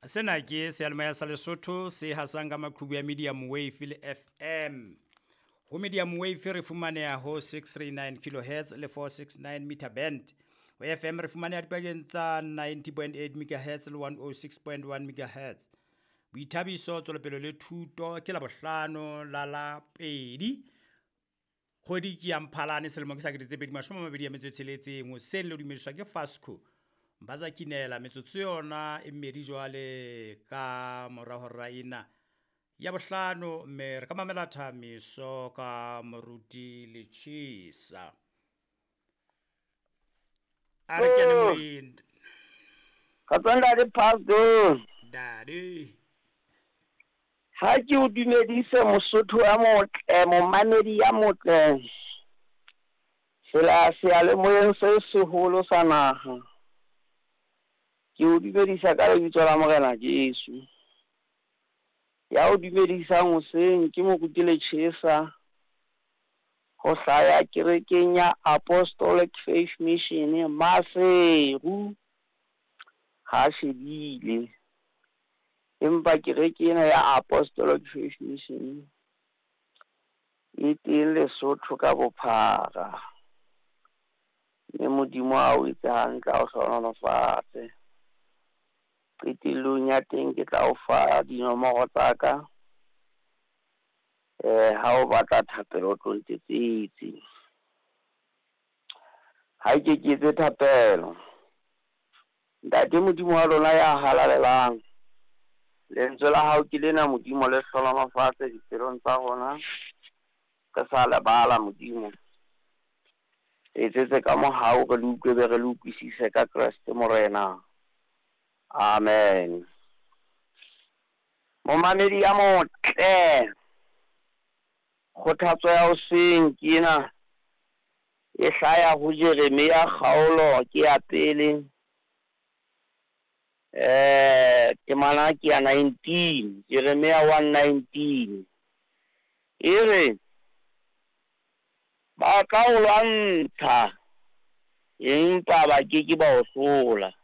Sena ke seyalemoya sa Lesotho se hasang ka maqhubu ya medium wave le FM. Ho medium wave re fumaneha ho 639 kilohertz le 469 meter band. Ho FM re fumaneha dipakeng tsa 90.8 megahertz le 106.1 megahertz. Boithabiso, tswelopele le thuto ke Labohlano la la pedi. Kgwedi ke ya Mphalane selemo ke sa 2026. Hoseng le dumediswa ke Fasco. Mbaza Kinela metsotso yona e mmedi jwale ka mora hora ena ya bohlano, mme re ka mamela thamiso ka moruti Lechisa. A re kene moyeng. Kgotso ntate Pastor. Daddy. Ha ke o dumedise Mosotho ya motle, momamedi ya motle. Sela seyalemoyeng se seholo sa naha. Ke o dumedisa ka lebitso la Morena Jesu. Ya o dumedisang hoseng ke moruti Lechesa. Ho hlaya kerekeng ya Apostolic Faith Mission Maseru. Ha shebile. Empa kereke ena ya Apostolic Faith Mission e teng Lesotho ka bophara. Mme Modimo a o etse hantle, a o hlohonolofatse. Qetellong ya teng ke tla o fa dinomoro tsa ka. Ha o batla thapelo o tlo ntetsetse. Ha ke ke etse thapelo. Ntate Modimo wa lona ya halalelang, lentswe la hao ke lena Modimo, le hlohonolofatse dipelong tsa rona. Re sa lebala Modimo. Etsetse ka mohau re le utlwe be re le utlwisise ka Kreste Morena. Amen. Momamedi ya motle, kgothatso ya hoseng ke ena e hlaya ho Jeremia kgaolo ke ya pele. Temana ke ya 19, Jeremia 1:19. E re ba tla o lwantsha empa ba ke ke ba o hlola.